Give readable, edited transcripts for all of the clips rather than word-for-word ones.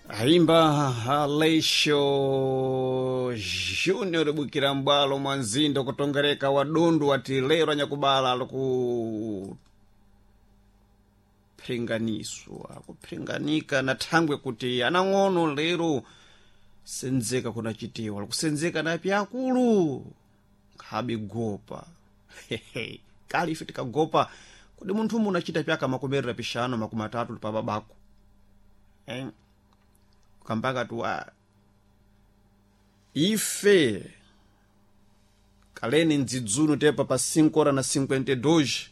Aimba Aleixo Júnior bukira mbwalo mwa mzinda kutongereka wadundu wati lero anyakubala alikuphinganiswa kuphinganika na thangwe kuti anang'ono lero senzeka kunachitiwa likusenzeka na pyakulu nkhabe gopa kali ife tikagopa kodi munthu munachita pyaka makomerera pixanu makumi atatu pa babako eh? Kambaka tuwa ife kaleni ndzidzuno tepa pa 5 hora na 52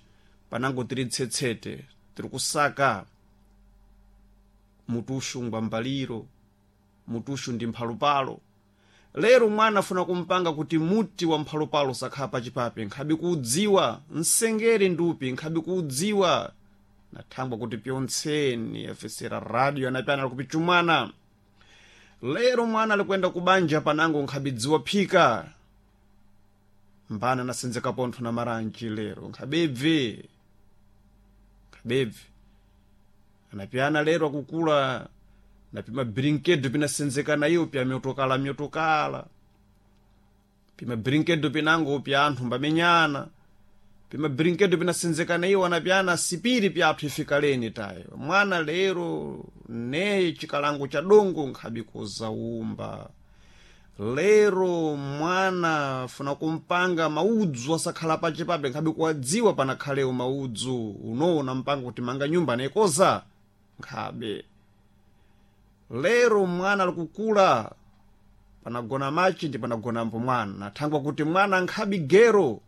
panango tiri tsetsete tiri kusaka mutuxu ngwambaliro mutuxu ndi mphalupalo. Lero mwana afuna kumpanga kuti muti wa mphalupalo sakhala pachipape nkhabe kuudziwa msengere ndupi nkhabe kuudziwa nathangwa kuti pyontseni afesera radio anapyana alikupichumwana. Lero mwana alikwenda kubanja panango nkhabidziwa phika mbana nasenzeka pontho na maranji lero nkhabebve nkhabebve anapyana lero akukula napima brinkedo pinasenzeka nayo pya myotokala myotokala pima brinkedo pinango pya anthu mbamenyana pima brinkedo pinasenzeka naiwo anapyana sipiri pyathu ifikaleni tayo mwana lero neye chikalango cha dongo nkhabi kuzaumba. Lero mwana funa kumpanga maudzu asakhala pachipape nkhabi kuwadziwa panakhalewo maudzu unoona mpanga kuti manga nyumba anaikoza nkhabe. Lero mwana alikukula panagona machi ndi panagonambo mwana thangwa kuti mwana nkhabi gero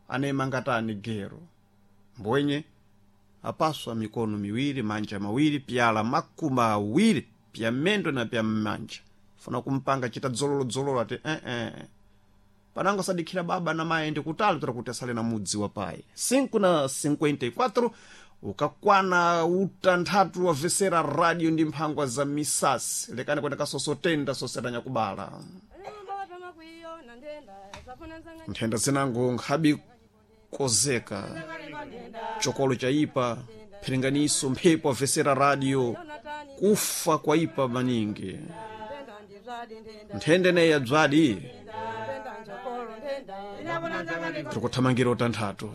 anemangatani gero mbwenye apaswa mikono miwiri manja mawiri pyala makumi awiri pya mendo na pya mmanja funa kumpanga chita dzololo ati eh panango sadikhira baba na mayi ndi kutali tora kuti asale na mudzi wa payi 5 na 54 ukakwana utanthatu wavesera radio ndi mphangwa za misasi lekani kwenda kasosotenda sosera nyakubala nthenda zinango nkhabi kozeka chokolo chaipa phiringaniso mphepo avesera radio kufa kwaipa maningi nthenda ineyi yabzadi tikuthamangira utanthatu.